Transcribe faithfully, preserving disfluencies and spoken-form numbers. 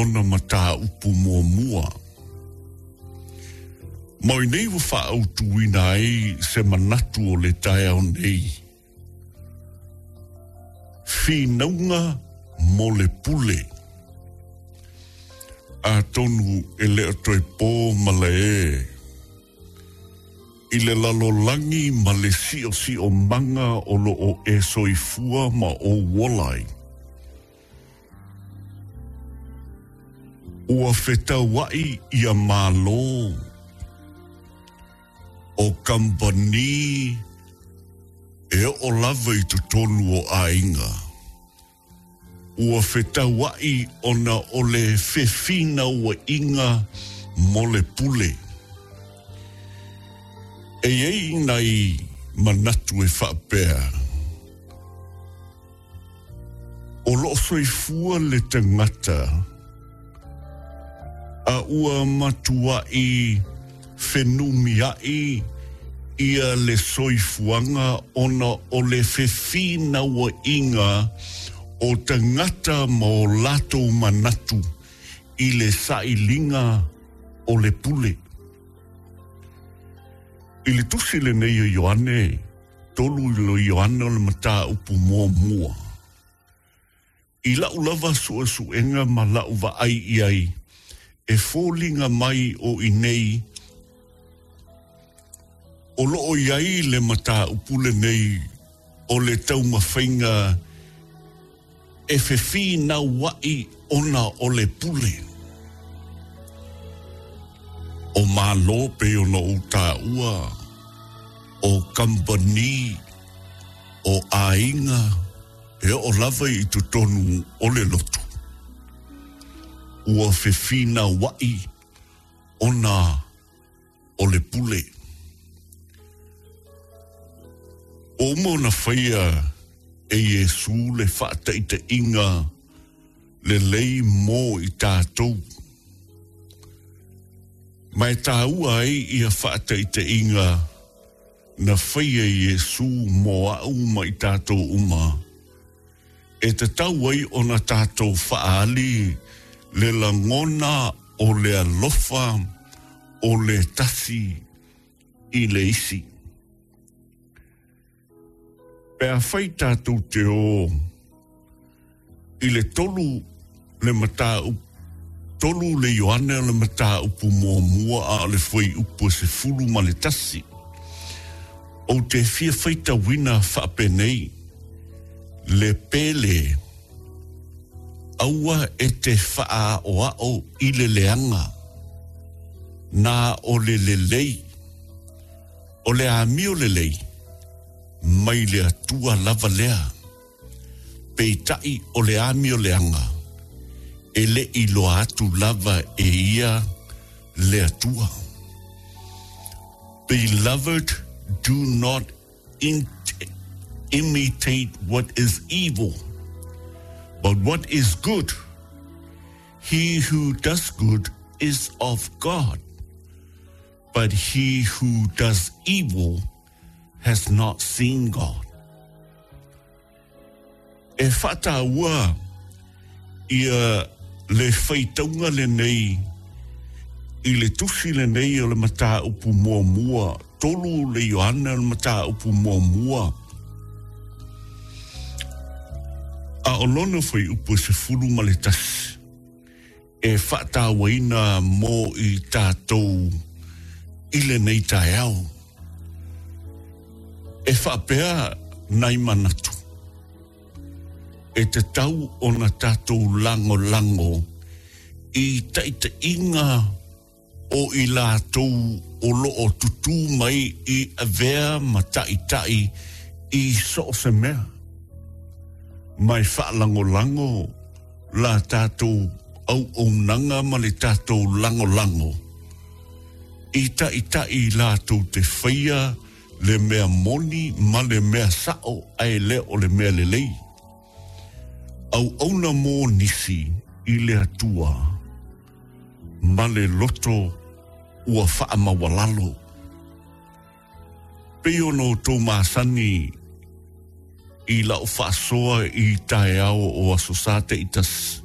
lona mataupu muamua. Ma i nei ua faaautuina ai se manatu o le taeao nei. Finauga mo le pule. Atonu e le o toe po malae i le lalolagi ma le siosiomaga o loo e soifua ma ou ola ai. Ua fetauai ia Malo o kamupani e oo lava i totonu o aiga. Ua fetauai ona o le fefinauaiga mo le pule. E iai nai manatu e faapea, o loo soifua le tagata a ua matuai fenumiai ia le soifuaga ona o le fefinauaiga o tagata ma o latou manatu i le sailiga o le pule. I le tusi lenei o Ioane, tolu i Ioane o le mataupu muamua. I lau lava suesuega ma lau vaai i ai, e foliga mai o i nei, o loo iai le mataupu lenei o le taumafaiga e fefinauai ona o le pule. O Malo pei ona ou taua, o kamupani, o aiga, e oo lava i totonu o le lotu. Ua fefinauai ona o le pule. O uma ona faia e Iesu le faataitaiga lelei mo i tatou. Ma e taua ai ia faataitaiga na faia e Iesu mo au ma i tatou uma. E tatau ai ona tatou faaali le lagona o le alofa o le tasi i le isi. Pe afai tatou te o i le tolu le mataupu, tolu le Ioane o le mataupu muamua a o le fuaiupu e sefulu ma le tasi. Ou te fia faitauina faapenei, le pele aua e te faaoao i le leaga, na o le lelei, o le amio lelei, mai le Atua lava lea. Peitai o le amio leaga, e le iloa atu lava e ia le Atua. Beloved, do not in- imitate what is evil, but what is good. He who does good is of God, but he who does evil has not seen God. E faataua ia le faitauga lenei i le tusi lenei o le mataupu muamua, tolu le Ioane o le mataupu muamua, a o lona fuaiupu e sefulu ma le tasi, e faatauaina mo i tatou i lenei taeao. E faapea nai manatu, e tatau ona tatou lagolago i taitaiga o i latou o loo tutū mai i avea ma taitai i so o se mea. Ma e faalagolago la tatou auaunaga ma le tatou lagolago i taitai latou te faia le mea moni ma le mea sao ae le o le mea lelei. Auauna mo nisi i le Atua ma le loto ua faamaualalo. Pei ona outou masani i lau faasoa i taeao o Aso Sa taitasi.